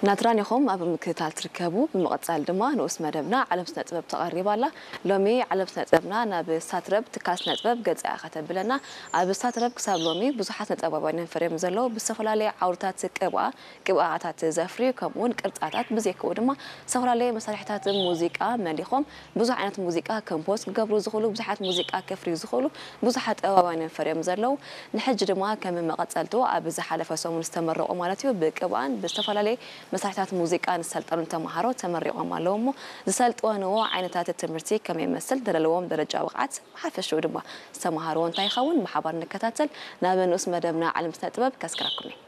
ናትራን ኢኹም ኣብ ምክትታል ትርከቡ። ብምቕጻል ድማ ንኡስ መደብና ዓለም ስነ ጥበብ ተቐሪባ ኣላ። ሎሚ ዓለም ስነ ጥበብና ናብ ሳትረብ ትካል ስነ ጥበብ ገጻ ኢያ ከተብለና። ኣብ ሳትረብ ክሳብ ሎሚ ብዙሓት ስነ ጥበባውያን ፈርዮም ዘለዉ ብዝተፈላለየ ዓውድታት ቅብኣ ቅብኣታት ዘፍርዩ ከምኡ እውን ቅርጻታት ብዘይክኡ ድማ ዝተፈላለዩ መሳርሕታት ሙዚቃ መሊኾም ብዙሕ ዓይነት ሙዚቃ ከምፖዝ ክገብሩ ዝኽእሉ ብዙሓት ሙዚቃ ከፍርዩ ዝኽእሉ ብዙሓት ጥበባውያን ፈርዮም ዘለዉ። ንሕጂ ድማ ከም መቐጸልቱ ኣብ ዝሓለፈ ሰሙን ዝተመረቑ ማለት እዩ ብቅብኣን ብዝተፈላለየ መሳርሕታት ሙዚቃ ንሰልጠኑ ተምሃሮ ተመሪቖም ኣለዉ እሞ ዝሰልጠንዎ ዓይነታት ትምህርቲ ከመይ ይመስል ዘለዎም ደረጃ ብቕዓት ብሓፈሽኡ ድማ ዝተምሃርዎ እንታይ ይኸውን ብሓባር ንከታተል። ናብ ንኡስ መደብና ዓለም ስነ ጥበብ ከስክረኩም እየ።